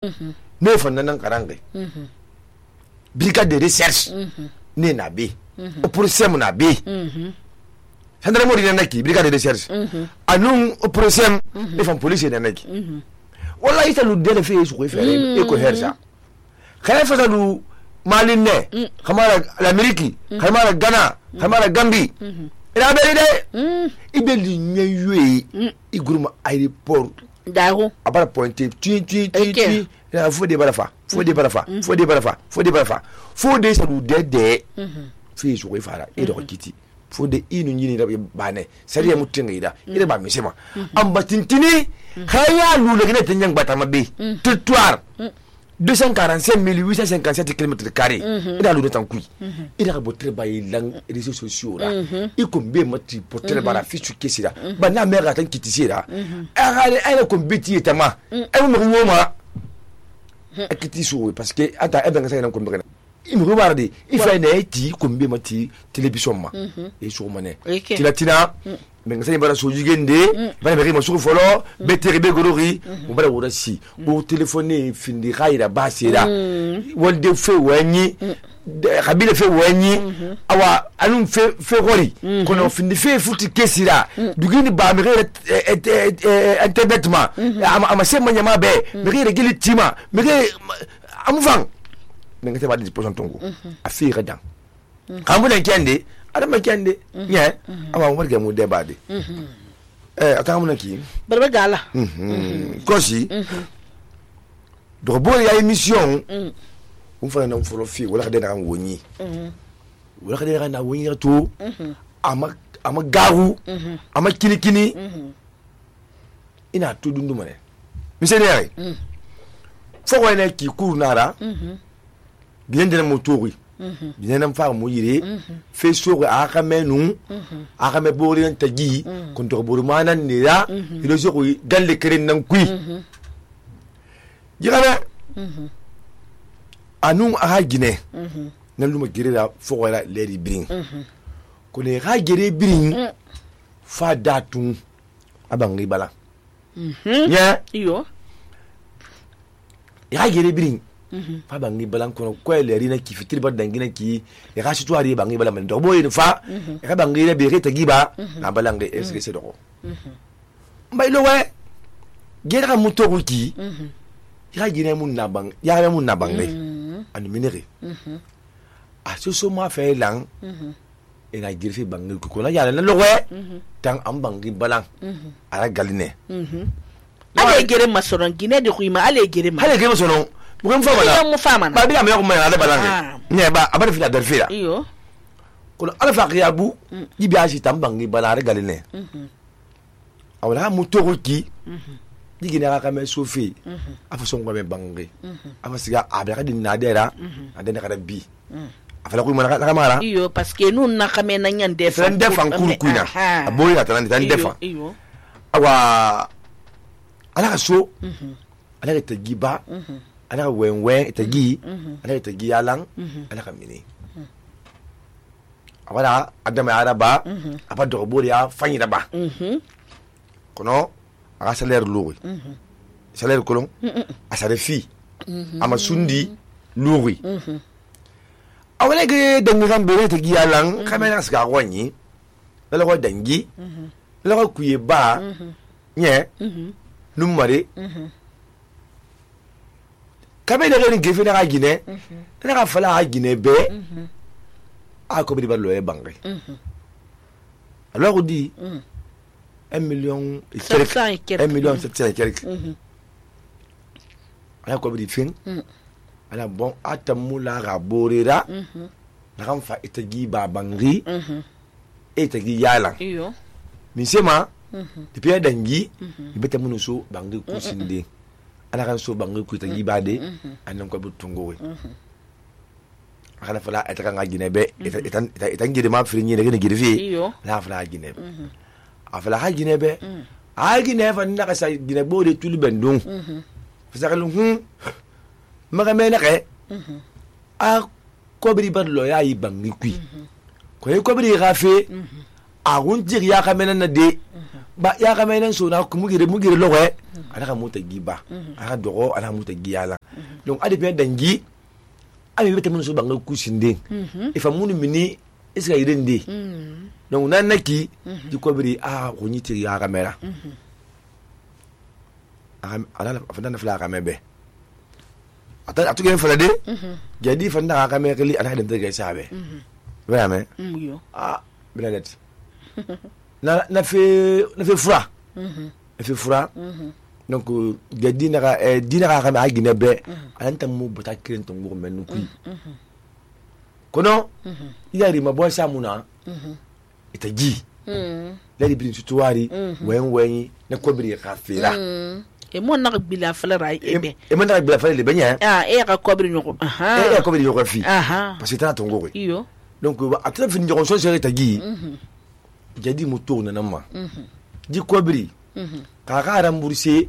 ne fanna nan karange brigade de recherche ne na be operation na be gendarmerie na naki brigade de recherche anun operation ne fan police na naki wallahi ta lu de fe su ko fere e ko hersa khay fa lu malin ne kamara l'Amérique kamara Ghana kamara Gambie ila be de ibeli nyeyue iguruma aéroport daho abara pointer tu la faut des barafa faut des barafa faut des salu de fi su ko fara e do kiti faut des inu nyini da bane sariya mutin ida ida ba misema amba tintini khaya lu le gene tanyang batama be territoire 245 857 km². Il a le temps qui. Il a beau travailler dans les réseaux sociaux là. Il combien mati porter bara fichu kesira. Ba na mère atan kitisi là. Elle comme beti etama. Elle me ngoma. Akitiso parce que ata e benga sa na kombere. Il me regarde, il fait une éti combien mati télévision ma. Et sur mané. Tilatina benga sa bara so jigende, ba na ma sur folo, beteribe gorori, on va la si. Au téléphoner findi raira basira. Wolde fe wanyi, kabile fe wanyi, awa anum fe rori. Kono findi fe futi kesira. Dugini ba mere internet ma. Ama se manyama be, mere gili tima, mere amufang. Benga sa ba disposition tongo. Afira dan. Kamuna kende adama kende nya awa mo ga mu debade akamuna ki barba gala kosi do bo ya émission on fa na folo fi wala de na woni wala de na woni to ama garu ama kinikini ina to dundu mane monsieur ne fo ko ne ki cour nara bien de motori bien nam fa mo yire fe so aka menu aka me bori en tagi kon to bori manan ni ya ilo so ko galle keren nan kui jigana anu aka gine nan luma gire da fo wala leri bring ko ne ha gire bring fa datun abangi bala nya iyo ya gire bring fa bangi balan kono ko leri na ki fitiri ba dangina ki e ga situ ari bangi balan do boy fa e ga bangi le be reta giba na balange est-ce que c'est do mbay lo we gera muto ki ya gine mun na bang ya mun na bang le an minere a so ma fe lang e na girfi bangi ko na ya na lo we tan am bangi balan ara galine ale gere masoron gine de kuima ale gere masoron bukan fama ba bi am yo ko ma ala balange ne ba abara fi da fira iyo ko ala fa qiyabu yibi aji tambangi balare galine awala mu toki digi na ka me sofi afa so ngwa me bangi afa siga abara din na dera adena kada bi afala ko mana ka mara iyo parce que nous na ka me na nyande fa defan kurkuina aboyi atana tan defa iyo awa ala ka so ala ka tagiba ala ka wenwe itagi ala ka tagi yalang ala ka mini awala adama araba apa dobo ya fanyira ba kono aga salaire louri salaire kolon asare fi ama sundi louri awala ge dangiran bere tagi yalang kamera ska wonyi la ko dangi la ko kuye ba nye numare kabe de ren gefe na gine na ka fala ha gine be a ko bi ba lo e bangi alors on dit 1 million et quelques 1 million 700 et quelques ala ko bi fin ala bon atamula raborera na kan fa etagi ba bangi etagi yala iyo misema depuis dangi ibeta munuso bangi kusinde ana kan so bangi ku tagi bade anan ko butungo we akana fala etaka ngagine be etan gide ma firi nyine gine gide fi la fala gine be afala ha gine be a gine fa na ka sa gine bo de tuli bendung fasakalu maga me na ke a ko bri bad lo ya yi bangi ku ko ko bri gafe a won jir ya ka mena na de ba ya ga menen so na ku mugire logo ala ka muta giba ala dogo ala muta giyala donc ade bien dangi ami bete mun so banga ku sinde e fa mun mini iska yirende donc nan naki di ko biri ko nyiti ya ga mera ala fa dan fla ga mebe atu gen fala de jadi fa dan ga mera li ala dem de ga sabe vraiment yo bilanet na fe fura na fe fura donc jadi na dina ga ma gine be anta mu bota kiren to ngoro men ku kono yari ma bo samuna itaji lady bin tuwari wen na kobiri ka fera e mon na bila fala rai ebe e mon na bila fala le benya e ka kobiri nyoko e kobiri nyoko fi parce que ta to ngoro iyo donc a très fin de so sere tagi jadi mo tourne na ma di kobiri ka rembourser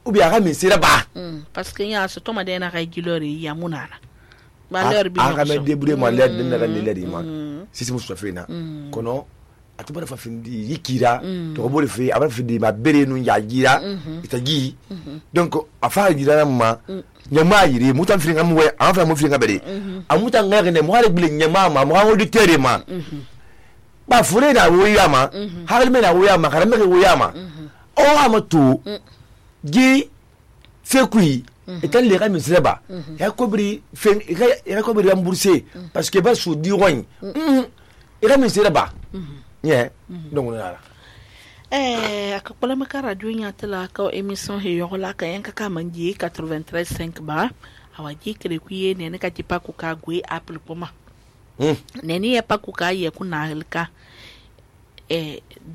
ou bien ka misira ba parce que ya so to ma de na ka gilori ya munana ba leur bi ka me débrouiller ma l'aide na ga l'aide ma si mo so fe na kono atu bara fa findi yikira to ko bori fe aba findi ma bere nu ya gira itagi donc afa gira ma nyama yiri mutan firinga mu we afa mu firinga bere amuta ngare ne mo hare bile nyama ma mo hawo di tere ma ba fure na wo yama hagal me na wo yama karame ke wo yama o amatu gi fekui etan le ga misreba ya kobri fen ya kobri rembourser parce que ba sou di rogne ira misreba yeah donc na akakpala maka radio nya tala ka emission he yola ka yanka ka manji 93.5 ba awaji kire kuye ne ne ka tipa ku ka gwe apple poma ne ni ya paku ka ye kuna halka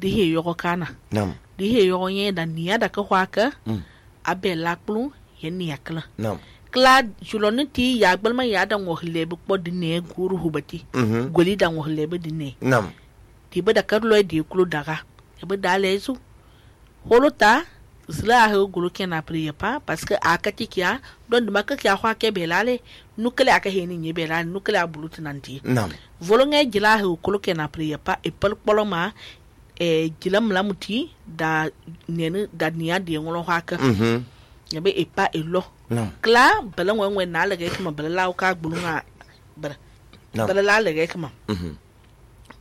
dihe yoko kana nam dihe yoko ye da niya da ka hwaka abela klu ye niya kala nam kla juloni ti ya gbalma ya da ngohle bu ko dinne guru hubati goli da ngohle bu dinne nam ti ba da karlo di klu daga e ba da lezu holota zla ha gulu kena priya pa parce que akati kya don de makka kya hwa ke belale nukele aka heni nye belale nukele abulutu nanti nam volonge jila ha gulu kena priya pa e pal poloma jilam lamuti da nene da niya de ngolo haka yabe e pa elo kla bala ngwe na laga kama bala law ka gbulunga bala la laga kama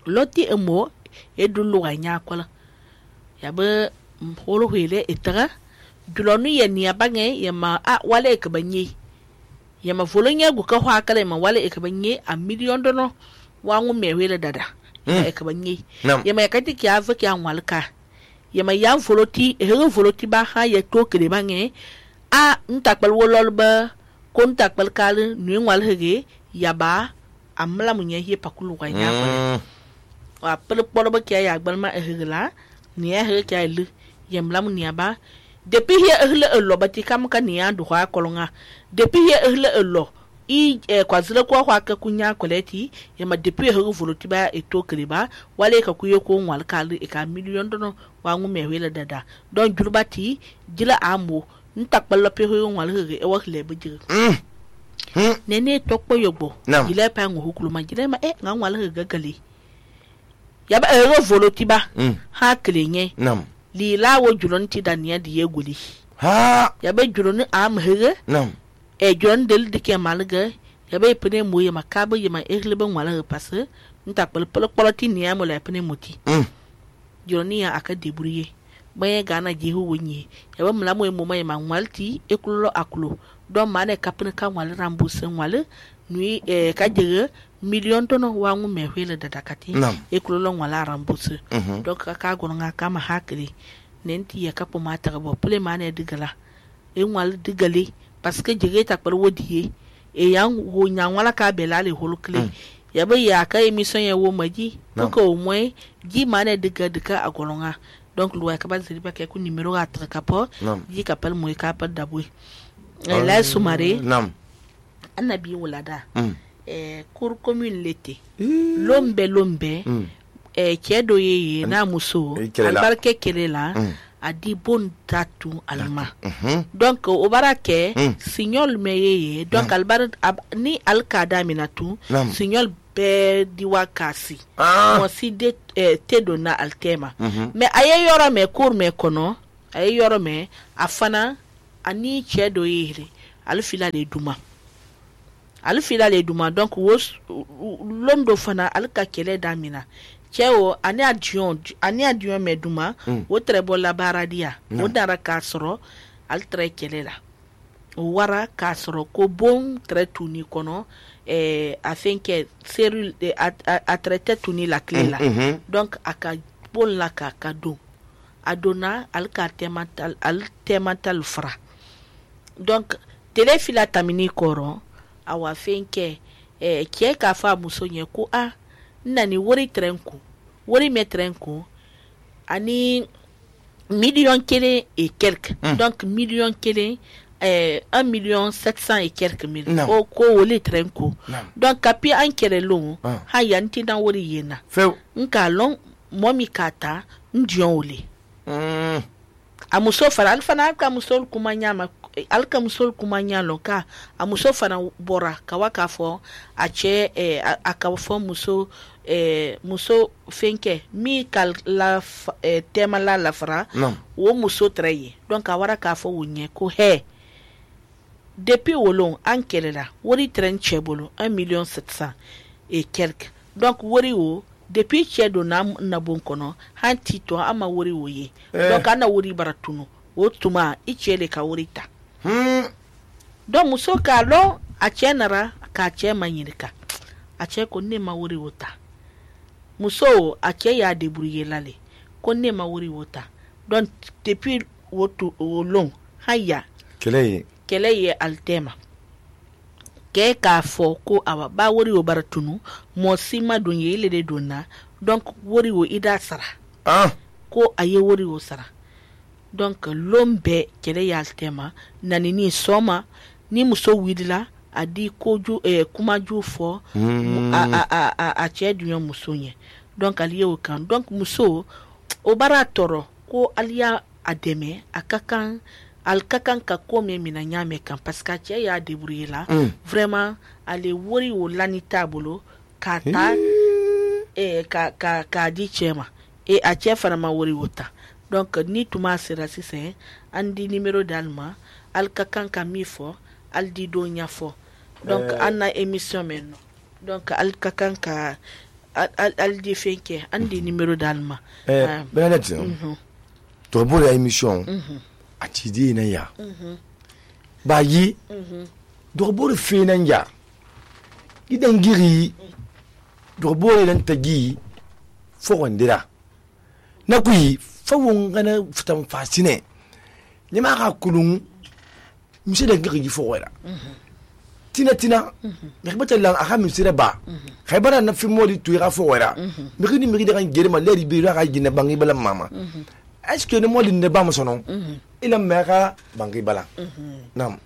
loti emo edulu ganya kwala yabe holo hele etara dulonu ye niya bange yama wale ka banye yama volonya gu ka hwa kala ma wale ka banye a million dono wangu mewele dada e ka banye yama yakati kya fa kya walka yama ya voloti voloti ba ha ye to kede bange ntakpal wololba kon takpal kal nu wal hege yaba amla munye ye pakulu ga nya wa pel polba kya ya gbalma hegla niya hege kya lu yemlam niaba depuis hier elo bati kam ka niya du ha kolonga depuis hier elo kwazile kwa ka kunya koleti yama depuis her voloti ba eto kriba wale ka kuye ko wal kal e ka million dono wa ngu mehwela dada don julbati jila amo ntakpala pe ho wal hege e wa lebe jige nene tokpo yogbo jila pa ngu hukulu ma jila ma nga wal hege gali yaba her voloti ba ha klenye nam li lawo julon ti daniya di yeguli ya be julon am hege nam julon del dike malga ya be pene moye makaba yema ehlebe wala passe nta pal poloti niya mo la pene moti julon ya aka debrouiller baye gana jehu wonye ya be mla moye mo may ma walti ekulo akulo don mane kapne kan wala rembourser wala nui ka jege million tono wangu mehwele dadakati ekulo wala rembourser donc ka gonga kama hakri nenti ya kapo mata bo pule mane digala wal digali parce que jege ta par wodi yang wo nyang wala ka belale holukle ya be ya ka emission ya wo maji donc au moins ji mane diga agonga donc lo ka ba ziriba ke ku numero atra kapo ji kapal moy kapal dabwe la sumare annabi wulada cour commune l'été lombe kedo yeye na muso albarke kelela adi bon tatu alma donc o barake signol me yeye donc albar ni alkada minatu signol bɛɛ diwa kasi mo si de te donna altema mais aye yoro me cour me kono aye yoro me afana ani cɛ dɔ yere ale fila le duma donc wo londo fana ale ka kɛlɛ damina cɛ o ani adion me duma o très bon la baradia o dara ka sɔrɔ ale très kɛlɛ la o wara ka sɔrɔ ko bon très tuni kɔnɔ afin que cellule a traité tuni la clé la donc aka bon la ka don adona al ka temantal fra donc tele fila tamini koro awa fin que ke ka fa muso nye ko nani wori trenku wori metrenku ani million kele et quelques donc million kele 1,700,000 et quelques mille o ko wole trenko donc kapi an kere lo ha yanti dan wori yena nka lon momi kata ndion wole amuso fara alfana ka musol kumanya alka musol kumanya lo ka amuso fara bora kawaka fo ache akafo muso muso fenke mi kal la tema la fara wo muso treye donc awara ka fo wonye ko he depuis wolon an kelela wori tren chebolo 1,700,000 et quelques donc wori wo depuis chedo na bon kono han tito ama wori wo ye donc ana wori baratunu wo tuma ichele ka wori ta donc muso ka lo a chenara ka che manyirika a che ko ne ma wori wota muso a che ya debrouiller lale ko ne ma wori wota donc depuis wotu wolon haya kele ye altema ke ka fo ko awa ba wori wo baratunu mo sima donye ile de donna donc wori wo ida sara ko aye wori wo sara donc lombe kele ye altema nani ni soma ni muso widila adi koju kuma ju fo a che dunyo muso nye donc aliye o kan donc muso o baratoro ko aliya ademe akakan alkakan ka kome mina nyame kan parce que cɛ y'a débrouiller la vraiment ale wori o lani tabolo ka ta ka di cɛ ma et a cɛ fana ma wori wota donc ni tuma sera sisan an di numéro d'alma alkakan ka mi fɔ al di do nya fɔ donc an na émission men donc alkakan ka al di fenke an di numéro d'alma Bernadette to bo la émission a cidi na ya ba yi dorbore fe nan ya gidan giri dorbore nan tagi fo wandira na kuyi fa wongana futan fasine ni ma ka kulun misi da giri fo wala tina ya bata lan aka misira ba khaybara na fi modi tuira fo wala mi da kan gere ma leri bi ra ga gina bangi bala mama est-ce que ne modi ne ba mo sonon ila mera bangi bala nam